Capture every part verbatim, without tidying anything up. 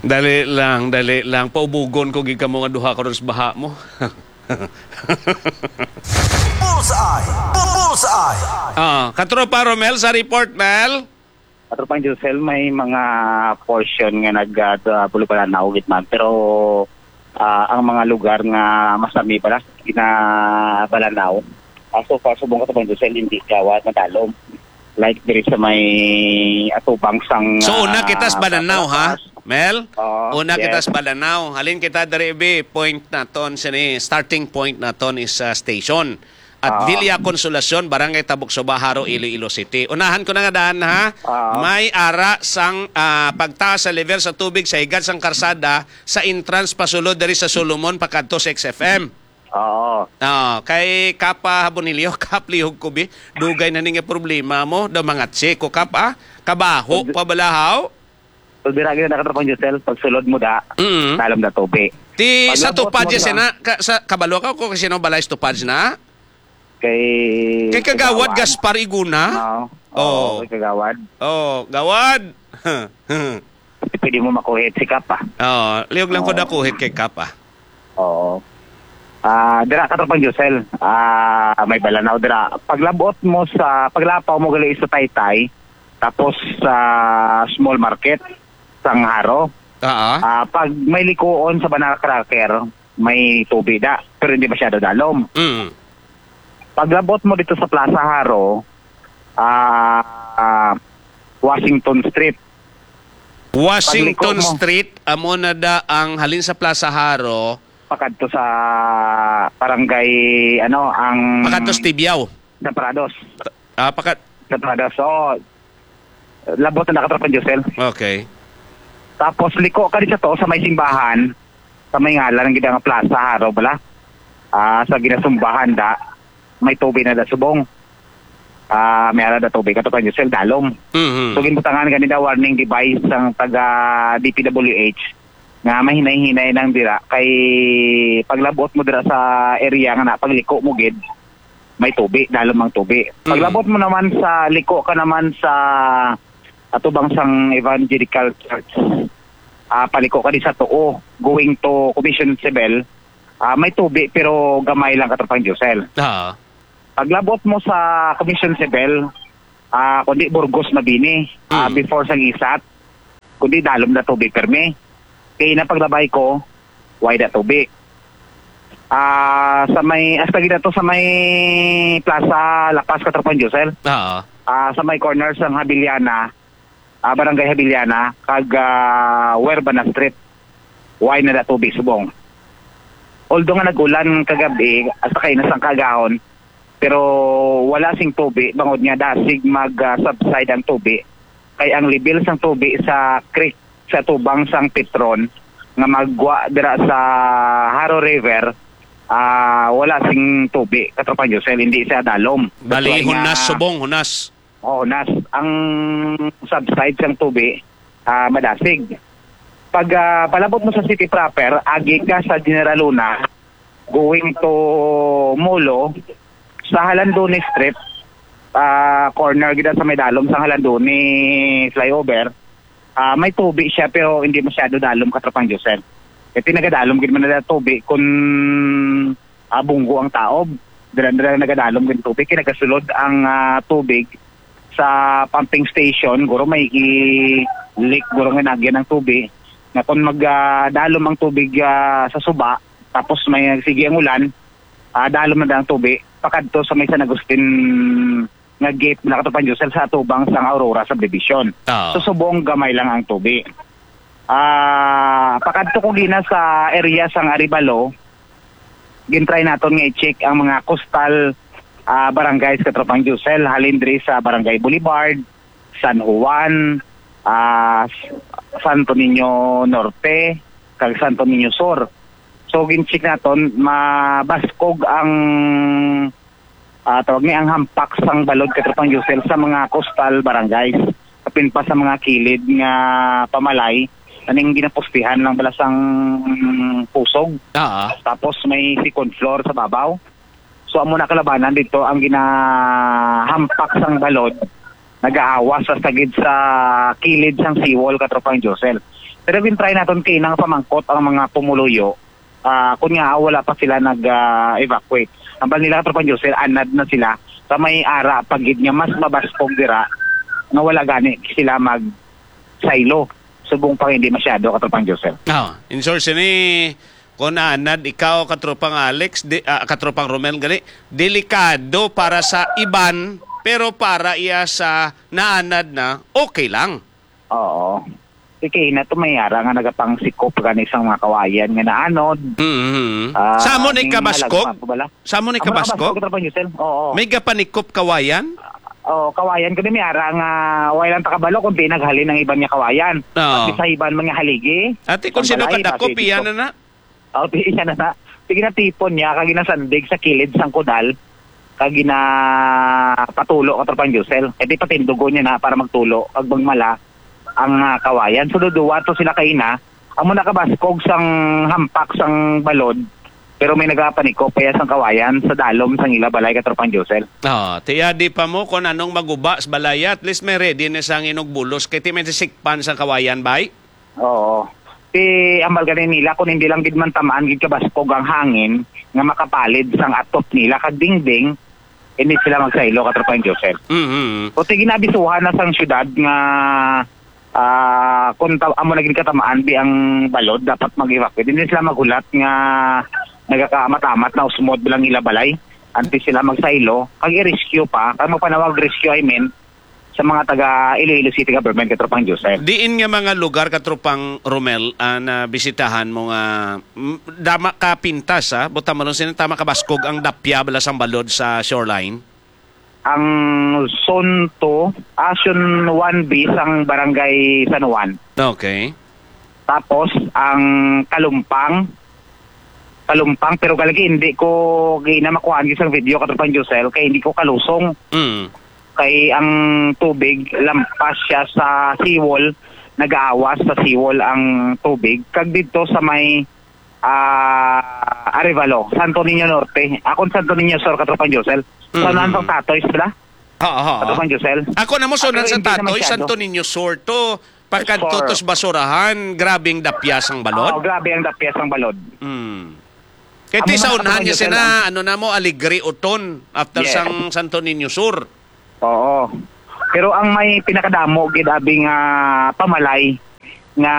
Dali lang, dali lang. Paubugon ko gid kamo nga duha karon sa baha mo. Bullseye! Bullseye! Ah, Katropa Romel, sa report, Mel? Katropang Josel, may mga portion nga nag, ah, Bulubalanaw gid man, pero, ah, ang mga lugar nga mas lami pala ginabalanaw. Ah, so far, subong, Katropang Josel, hindi gawa madalom. Like diri sa may atubang sang, So, una ah, kita sa Balanaw, ha? Palapas. Mel? Oo, Una kita yes. sa Balanaw. Halin kita diri, bi, point naton sini, starting point naton is, ah, station. At Oo. Villa Consolacion, Barangay Tabok Suba, Jaro, Iloilo City. Unahan ko na nga daan, ha? Oo. May ara sang, ah, pagtaas sa level sa tubig sa higad sang karsada sa entrance pasulod diri sa Solomon pakadto sa X F M. Oo. Ah, kay Kapa Bonilio, Kap, lihog ko, bi. Dugay na ni nga problema mo. Daw mga tsiko, Kap, ah. Kabaho Pag- pa balahaw. Pag dira gyud na, Katropang Josel, pag sulod mo da, Mm. dalom na tubig. Ti Pag sa labot Tupad mo ya sa sina, ka, sa, kabalo ka ko kasi no balay sa Tupad na? Kay Kay Kagawad Kagawad. Gaspar Iguna? Oo. Oo. Oo, kay Kagawad. Oh, Gawad. Pwede mo makuhit si Kapa. Oo, liyog lang ko Oo. nakuhit kay Kapa. Oo. Ah, dira, Katropang Josel, ah, may Balanaw dira. Paglabot mo sa, paglapaw mo gali sa Taytay, tapos sa small market, sang Jaro. Ah, ah. Ah, pag may likuon sa Banana Cracker, may tubi da, pero hindi masyado dalom. Mm. Paglabot mo dito sa Plaza Jaro, ah, ah, Washington Street. Washington Pagliko mo. Street, amo na da ang halin sa Plaza Jaro. Pakadto sa barangay, ano, ang Pakadto sa Tibiao. Sa Prados. Ah, pakat- Sa Prados, oo. Labot na, Katropang Josel. Okay. Tapos liko ka di sa to, sa may simbahan, sa may ngalan ng gidang plaza, haro bala. Ah, sa ginasumbahan da, may tubig na da subong. Ah, may ara da tubig, Katropang Josel, dalom. Mhm. So, ginbutangan gani da warning device ang taga D P W H nga mahinay-hinay nang dira kay paglabot mo dira sa area nga na pagliko mo gid, may tubi, dalom ang tubi. Mm. Paglabot mo naman sa liko ka naman sa atubang sang Evangelical Church, ah, paliko ka di sa tuo, going to Commission Civil, ah, may tubi pero gamay lang, Katropang Josel. Ah. Paglabot mo sa Commission Civil, ah, kundi Burgos Mabini, ah, Mm. before sang isat, kundi dalom na tubi permi. Kay na paglabay ko, way da tubi. Ah, sa may, hasta gid to sa may Plaza La Paz, Katropang Josel. Oo. Ah, sa may corner sang Habiliana, ah, Barangay Habiliana, kag, ah, Huerbana Street. Way na da tubi subong. Although nga nag-ulan kagabi, hasta kay na sang kagahon, pero wala sing tubi, bangod nga dasig mag, ah, subside ang tubi. Kay ang level sang tubi sa creek sa tubang sang Petron nga magwa dira sa Jaro River, ah, wala sing tubi, Katropang Josel, hindi siya dalom. Bali, That's why hunas nga subong, hunas. Oo, hunas. Ang subside sang tubi, ah, madasig. Pag, ah, palabot mo sa city proper, agi ka sa General Luna, going to Molo, sa Jalandoni Street, ah, corner gid sa may dalom sa Jalandoni flyover, ah, may tubi siya pero hindi masyado dalom, Katropang Josel. Kay nagadalom gid man na tubi kung, ah, bunggo ang taob. Dira-dira nagadalom gid tubi, kay nagasulod ang, ah, tubig sa pumping station, guro may i-leak, guro nga nagyan ang tubi. Nga kung mag, ah, dalom ang tubig, ah, sa suba, tapos may sige ang ulan, ah, dalom na ang tubi, pakadto sa may San Agustin nga gate na, Katropang Josel, sa atubang sang Aurora Subdivision. Oo. So, subong gamay lang ang tubi. Ah, pakadto ko gina sa area sang Arevalo, gintry naton nga i-check ang mga coastal, ah, barangays, Katropang Josel, halin diri sa Barangay Boulevard, San Juan, ah, Santo Niño Norte, kag Santo Niño Sur. So, gin-check naton, mabaskog ang, ah, tawag ni, ang hampak sang balod, Katropang Josel, sa mga coastal barangays. Kapin pa sa mga kilid nga pamalay, aning ginapostihan lang bala sang pusog. Ah. Tapos may second floor sa babaw. So, amo na kalabanan dito ang ginahampak sang balod nagaawas sa sagid sa kilid sang seawall, Katropang Josel. Pero gin-try naton kaina nga pamangkot ang mga pumuluyo, ah, kun nga wala pa sila nag-evacuate. Ambal nila, Katropang Josel, anad na sila sa may ara pa gid nga mas mabaskog dira, nga wala gani sila magsaylo subong pa nga hindi masyado, Katropang Josel. Ah, in short, sini, kung naanad ikaw, Katropang Alex, di, ah, Katropang Romel, gali, delikado para sa iban, pero para iya sa naanad na, okay lang. Oo. Sige na to, may ara nga nagapangsikop gani sang mga kawayan nga naanod. Mhm. Ah, Sa amo ni may kabaskog? Malagpa ko bala. Sa amo ni Amo na kabaskog? Kabaskog, Katropang Josel. Oo. May gapanikop kawayan? Oh, kawayan kami, may ara nga way lang takabalo kung di naghalin ang iban nga kawayan. Oo. At sa iban mga haligi, Ate, kung ang sino balay, kadakop, basi iya dito. Na na. Oh, di iya na na. Sige na, tipon niya, kag ginasandig sa kilid sang kunal, kag ginapatulo, Katropang Josel. Kaya di patindugo niya na para magtulo, kag magmala ang, ah, kawayan. So, duduwa to sila kaina. Amo nakabaskog sang hampak sang balod, pero may nagapanikop pa iya sang kawayan sa dalom sang ila balay, Katropang Josel. Ah, tiya di pa mo kung anong maguba sa balay, at least may ready na sang inugbulos, kay ti may sikpan sang kawayan, bay? Oo. Ti, ambal gani nila, kung hindi lang gid man tamaan gid kabaskog ang hangin nga makapalid sang atop nila kag dingding, hindi sila magsaylo, Katropang Josel. Mhm. O, ti, ginabisuhan na sang syudad nga, ah, kung ta-, amo na gid katamaan bi ang balod, dapat mag-evacuate. Hindi sila maghulat nga nagakaamat-amat na usmod bilang ila balay. Antes sila magsaylo, kag i-rescue pa, kag magpanawag rescue, I mean, sa mga taga Iloilo City Government, Katropang Josel. Diin nga mga lugar, Katropang Romel, ang nabisitahan mo nga, mm, dama ka pintas, ha? Buta mo lang sino, tama ka baskog ang dapya bala sang balod sa shoreline? Ang Zone two, ah, Zone one B sang Barangay San Juan. Okay. Tapos, ang Kalumpang, Kalumpang, pero galagi hindi ko gina makuhaan sa video, Katropang Josel, kay hindi ko kalusong. Mm. Kay ang tubig, lampas siya sa seawall, nagaawas sa seawall ang tubig. Kag dito sa may, ah, Arevalo, Santo Niño Norte. Akon Santo Niño Sur, Katropang Josel. Sa Mm. Nantong Tatoy sila? Oo, oo. Katropang Josel. Ako na mo, so, Ah, pero nan sa hindi na Tatoy, masyado. Santo Niño Sur to, pagkadto Sur. Tos basurahan, grabe ang dapyas ang balod? Oo, grabe ang dapyas ang balod. Mm. Kay Amo ti na sa sa unahan niya Katropang Josel, sina, ah. Ano na mo, Alegre Uton, after Yes. sang Santo Niño Sur. Oo. Pero ang may pinakadamo gid abi nga pamalay nga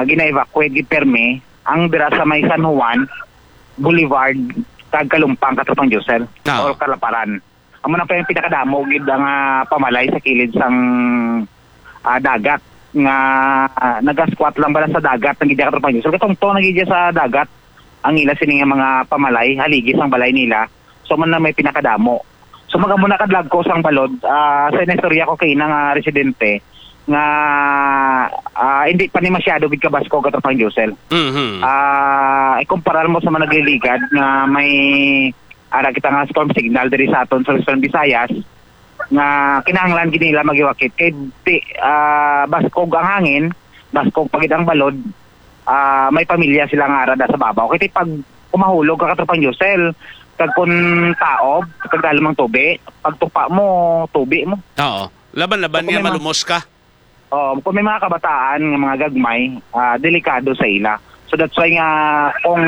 gina-evacuate gid permi ang dira sa may San Juan Boulevard kag Kalumpang, Katropang Josel, Ah. or Kalaparan. Amo na pa yung pinakadamo gid ang, ah, pamalay sa kilid sang, ah, dagat nga, ah, nagasquat lang bala sa dagat ang gid, Katropang Josel. Katungtong na gid sa dagat ang ila sini nga mga pamalay, haligi sang balay nila. So, man na may pinakadamo. So, mag-amo na kadlagko sang balod, ah, sa inistorya ko kay ina nga residente nga, ah, hindi pa ni masyado gid kabaskog, Katropang Josel. Mhm. Ah, ikumparar mo sa mga nagliligad nga may ara kita nga storm signal diri sa aton sa Western Visayas, nga kinahanglan gid nila mag-evacuate kay di, ah, baskog ang hangin, baskog pa gid ang balod, ah, may pamilya sila nga ara da sa babaw. Kay pag kumahulog ka, Katropang Josel, kag kun taob, kag dalom ang tubi, pagtupa mo, tubi mo. Oo. Laban-laban So, kung niya may mga malumos ka. Oo, kung may mga kabataan nga mga gagmay, ah, delikado sa ila. So that's why nga kung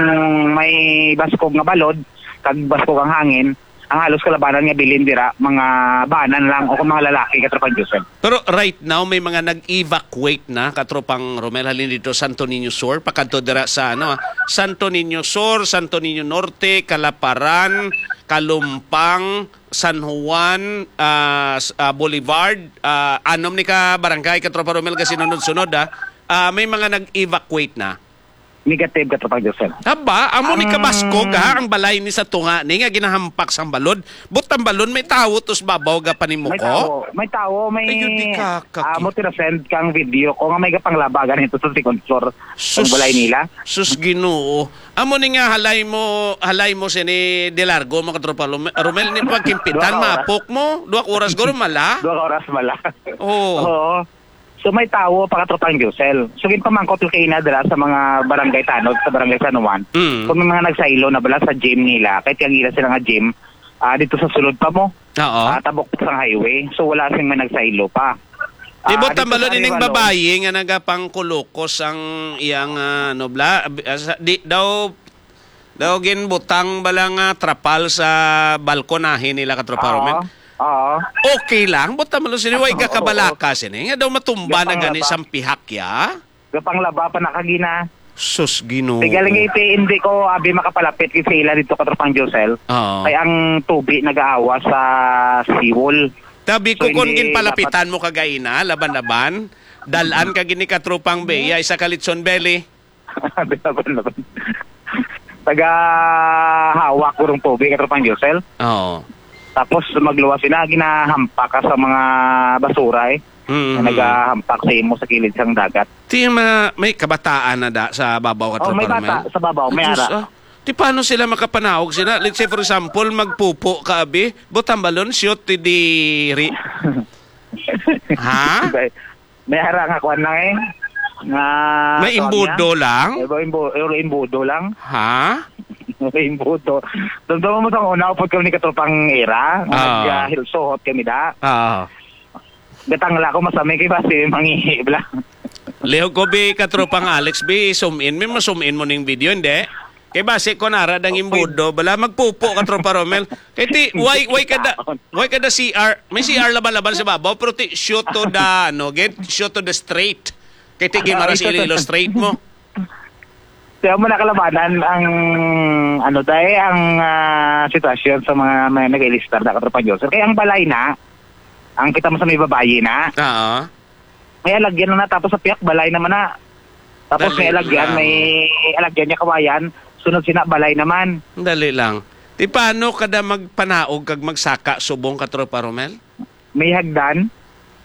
may baskog nga balod, kag baskog ang hangin, ang halos kalabanan nga bilin dira, mga banan lang o kung mga lalaki, Katropang Josel. Pero right now, may mga nag-evacuate na, Katropang Romel, halin dito, Santo Niño Sur, pakadto dira sa, ano, ah, Santo Niño Sur, Santo Niño Norte, Calaparan, Calumpang, San Juan, ah, s-, ah, Boulevard, ah, anom ni ka barangay, Katropa Romel, ka sinunod-sunod, ah. Ah, may mga nag-evacuate na. Negative, Katropang Josel. Haba, amo ni Ang kabaskog, ha, ang balay ni sa tunga ni nga ginahampak sang balod. But ang balon may tawo tos babaw ga May panimuko. Tawo, may tawo, may Ayun, di ka, kaki. Amo ti na-send kang video ko nga may gapanglaba ganito sa second floor ang Sus, balay nila. Sus Ginoo. Amo ni nga halay mo, halay mo sini De Largo, mga katropa Lome-, Romel, ni pagkimpitan, Dua ka oras. Mapok mo, dua ka oras guro mala. Dua ka oras mala. Oo. Oo. So may tawo pa, katropang Josel. So ginpamangkot ko kay ina dira sa mga barangay tanod sa barangay San Juan. Mm. Kung may mga nagsaylo na bala sa gym nila, kahit yung ila sila nga gym, ah, dito sa sulod pa mo. Oo. Ah, tabok sang highway. So, wala sing may nagsaylo pa. Di Ah, ba dito tambalo sa nining Arevalo. babayi nga nagapangkulukos ang iyang, ah, ano, bla-, ah, sa, di daw, daw ginbutang bala nga trapal sa balkonahe nila, Katropa Oo. Romel? Oo. Okay lang, buta man sini, way Oo, ka oo. kabalaka sini. Nga daw matumba na gani Gapanglaba. sang pihak, ya? Gapanglaba pa na kagina. Sus, Ginoo. Tigaling iti, hindi ko abi makapalapit kay sa ila dito, Katropang Josel. Oo. Kay ang tubi nagaawa sa seawall. Tabi ko So, kung hindi ginpalapitan dapat mo kagaina, laban-laban, dalan ka gini, Katropang Bea, isa ka litson belly. Laban-laban. Taga hawak kurong tubig, Katropang Josel. Oo. Tapos magluwas sila, ginahampak ka sa mga basura, eh. Mm. Na nagahampak sa imo sa kilid sang dagat. Ti ma-, may kabataan na da sa babaw, Oh, may Katropa bata Romel? sa babaw, may Ay, Diyos, ara. ah. Ti paano sila makapanaog sila? Let's say, for example, magpupo ka, abi. Butang balon, shoot, ti diri. Ha? May, may ara nga kuwan lang, eh. Nga, May tawag imbudo niya? lang? Eh, ba, imbu-, eh, imbudo lang. Ha? Imbudo. Dumduma mo sa una, upod kami ni Katropang Era, nga Ah. nag-, ah, hilsuhot kami da. Ah. Gatangla ko, masami kay basi mangihi bala. Lihog ko, bi, Katropang Alex, bi, sumin. May masumin mo ning video, hindi? Kay basi ko nara dang Okay. imbudo, bala magpupo, Katropa Romel. Kay ti, why, why kada, why kada C R? May C R laban-laban sa babaw, pero ti, shoot to the, ano, get, shoot to the straight. Kay ti, Ah, gimara ito si to. Ililo straight mo. Kaya mo nakalabanan ang, ano, tayo, ang, ah, sitwasyon sa mga may nag-ilistar na, Katropang Josel. Kaya ang balay na, ang kita mo sa may babayi na, Oo. may alagyan na, tapos sa piyak balay naman na. Tapos Dali may alagyan, lang. may alagyan niya kawayan, sunod sina balay naman. Dali lang. Ti paano kada magpanaog kag magsaka subong, Katropa Romel? May hagdan.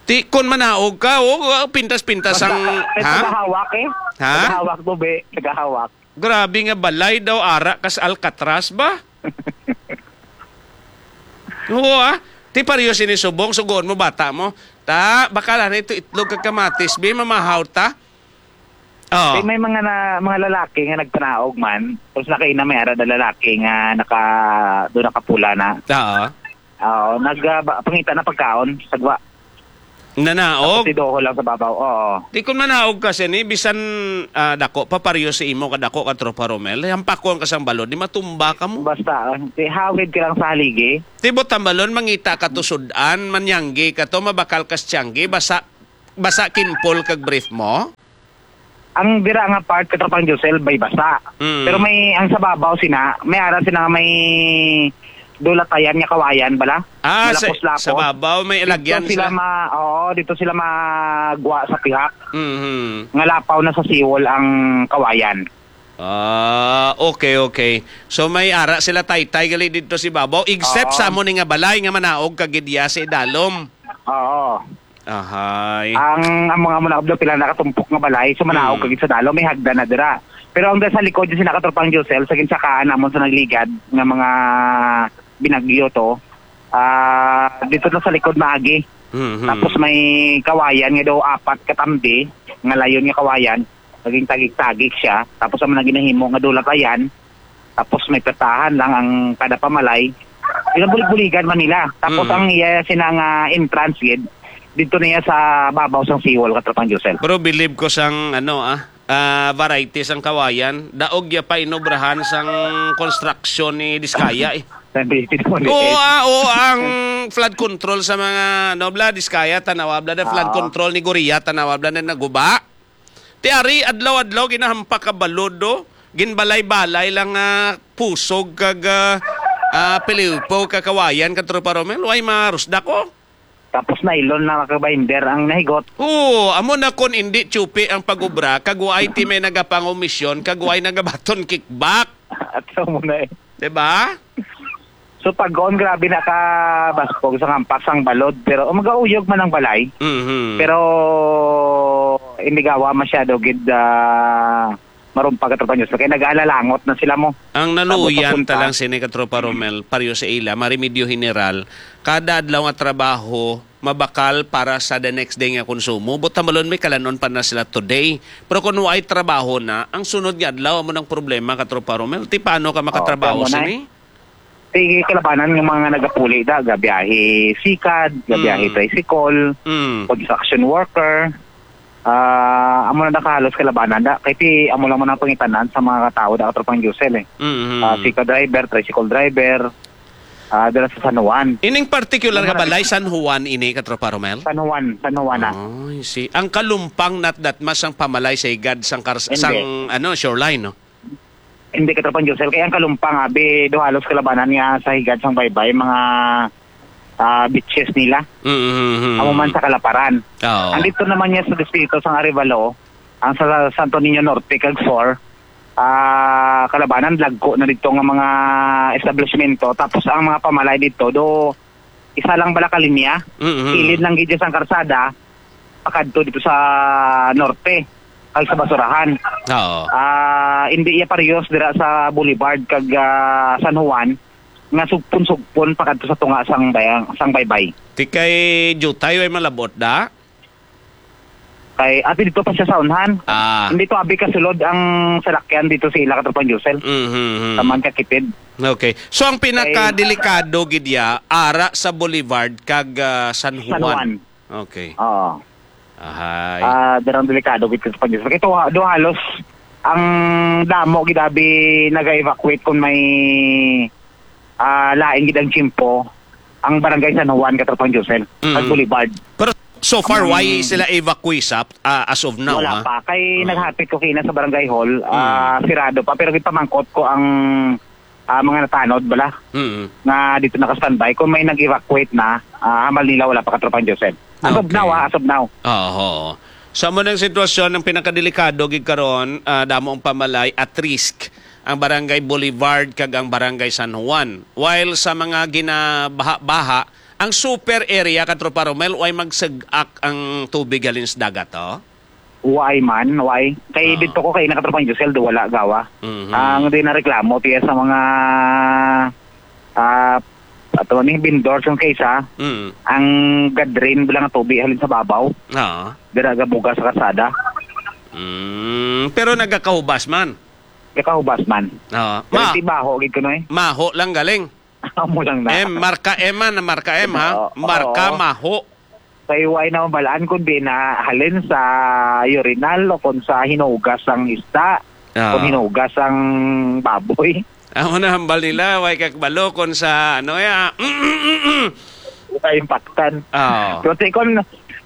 Ti, kun manaog ka, oh, pintas-pintas ang, Nagka-, may ha? tagahawak, eh. Ha? Tagahawak to, be. Tagahawak. Grabe nga balay daw, ara kas Alcatraz ba? Oo, ah. Ti pareho sini subong, sugoon mo bata mo. Ta, bakal, ano ito, itlog kag kamatis, bi, mamahaw ta. Oh. Kay may mga na, mga lalaki nga nagpanaog man, tapos nakaina may ara na lalaki nga naka, doon nakapula na. Oo. Oo, nag, ah, ba, pangita na pagkaon, sagwa. Nanaog? Tapos idoho lang sa babaw, oo. Di kun manaog ka sini, bisan, ah, dako, paparyo sa imo kadako, Katropa Romel, hampakon ka sang balod, di matumba ka mo. Basta, ah, di hawid ka lang sa haligi. Tibot ang balon, mangita ka to sudan, manyanggi ka to, mabakal ka sa tiyanggi, basa, basa kimpol kag brief mo? Ang dira nga part, Katropang Josel, may basa. Mm. Pero may, ang sa babaw sina, may ara sina nga may dulatayan nga kawayan bala. Ah, sa, Malapos-lapos. sa babaw, may Dito alagyan sila sila. ma-, oo, dito sila magwa sa pihak. Mhm. Nga lapaw na sa siwol ang kawayan. Ah, okay, okay. So may ara sila taytay gali dito si babaw, except Oo. sa amo ni nga balay nga manaog kag gidya sa idalom. Oo. Ahay. Ang, ang mga muna daw pila nakatumpok nga balay, so manaog Mm. kag sa dalo, may hagdan na dira. Pero ang sa likod, yung sina Katropang Josel, sa ginsakaan namon sa nagligad nga mga binagyo to, ah, dito na sa likod maagi. Mhm. Tapos may kawayan nga daw apat katambi, nga layon nga kawayan, naging tagik-tagik siya. Tapos ang mga ginahimo nga dulatayan, tapos may petahan lang ang kada pamalay. Pinabulig-buligan man nila. Tapos Mm. ang iya sina nga entrance gid, dito niya sa babaw sang siwol, Katropang Josel. Pero believe ko sang, ano, ah, ah, variety sang kawayan, daog ya pa inobrahan sang construction ni Diskaya, eh. Nandito mo, Oo, eh. ah, oo, ang flood control sa mga, ano, bla, Diskaya, tanawa, bla, na flood Oo. control ni Goria, tanawa, bla, na naguba. Ti ari, adlaw-adlaw, ginahampak ka balod, do. Ginbalay-balay lang nga pusog kag, ah, ah, pilipo ka kawayan, Katropa Romel. Way marusda ko. Tapos nylon na ka binder ang nahigot. Oo, amo na kon indi tsupi ang pag-obra, kag way ti may nagapangomisyon, kag way nagabaton kickback. At sa mo na, eh. Diba? So, pag-on, grabe na ka baskog sa hampak sang balod. Pero, oh, magauyog man ang balay. Mhm. Pero, hindi gawa masyado gid, ah, marumpag, Katropa Josel. Kaya nag-aalalangot na sila mo. Ang naluyan Tapos papunta. ta lang sini, Katropa Romel, paryo sa ila, maremedyo general, kada adlaw nga trabaho, mabakal para sa the next day nga konsumo. Buot hambalon, may kalanon pa na sila today. Pero kung way trabaho na, ang sunod nga adlaw, amo nang problema, Katropa Romel. Ti paano ka Oh, makatrabaho tama na, sini? eh. Ti kalabanan nga mga nagapuli da, gabiyahe sikad, gabiyahe Mm. tricycle, Mm. construction worker. Ah, amo na nakahalos kalabanan da. Kay ti amo lang man ang pangitanan sa mga tao da, Katropang Josel, eh. Mm. Ah, sikad driver, tricycle driver, ah, dala sa San Juan. Ining particular nga Mga balay, San Juan ini, Katropa Romel? San Juan, San Juan na. Oh, I see. Ang kalumpang nat datmas ang pamalay sa higad sang kars-, Hindi. sang, ano, shoreline, no? Hindi, Katropang Josel, kay ang kalumpang, abi, do halos kalabanan nga sa higad sang baybay, mga, ah, beaches nila. Mm, mm, mm, Amo man mm. sa kalaparan. Oo. Andito naman niya sa distrito sang Arevalo, ang sa Santo Niño Norte kag Sur, ah, kalabanan, dagko na dito nga mga establishmento. Tapos ang mga pamalay dito, do isa lang bala ka linya, Mm, mm. kilid lang gid siya sang karsada, pakadto dito sa norte, kag sa basurahan. Oo. Ah, hindi iya parehas dira sa Boulevard kag, ah, San Juan nga sugpon-sugpon pakadto sa tunga sang bayang, sang baybay. Ti kay Jutay way malabot da? Kay ati dito pa siya sa unhan. Ah. Hindi to abi kasulod ang salakyan dito sa ila, Katropang Josel. Mhm, mhm. Taman ka kipid. Okay. So ang pinakadelikado gid ya ara sa Boulevard kag, ah, San San Juan. Juan. Okay. Oo. Ahay. Ah, darang delikado gid, Katropang Josel. Kay to, do halos ang damo gid abi naga-evacuate kung may, ah, lain gid ang tiyempo, ang barangay San Juan, Katropang Josel, Mm. kag Boulevard. Pero so far, Ang why sila evacuees up, ah, as of now, Wala ha? pa. Kay Oo. naghapit ko kina sa barangay hall, ah, Mm. sirado pa. Pero gipamangkot ko ang, ah, mga natanod bala Mm. nga dito naka-standby. Kung may nag-evacuate na, ah, hambal nila wala pa, Katropang Josel. As of Okay. now, ah, as of now. Oo. Sa mo ng sitwasyon, ang pinakadelikado gid karon, ah, damo ang pamalay at risk ang Barangay Boulevard kag ang Barangay San Juan. While sa mga ginabaha-baha, ang super area, Katropa Romel, way magsag-ak ang tubig halin sa dagat, oh? Way man, way. Kay Oo. dito ko kay na, Katropang Josel, do wala gawa. Mhm. Ang di na reklamo, tiya sa mga, ah, ato ni vendors yung kaysa, Mm. ang gadrain bilang tubig halin sa babaw. Oo. Dira gabuga sa karsada. Mm, pero nagakahubas man. Kakahubas man. Oo. Pero Ma- ti baho gid kuno eh. Maho lang galing. Amo lang na. M, marka M man, marka M, ha? Oo, Marka oo. Maho. Kay way na mabalaan kung di na halin sa urinal o kung sa hinugas ang isda, Oo. kung hinugas ang baboy. Amo na hambal nila, way kakbalo kung sa ano ya. Sa impaktan. Oo. Pero ti kung,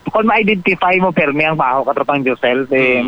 kung ma-identify mo, permi ang baho, Katropang Josel, ti Mm.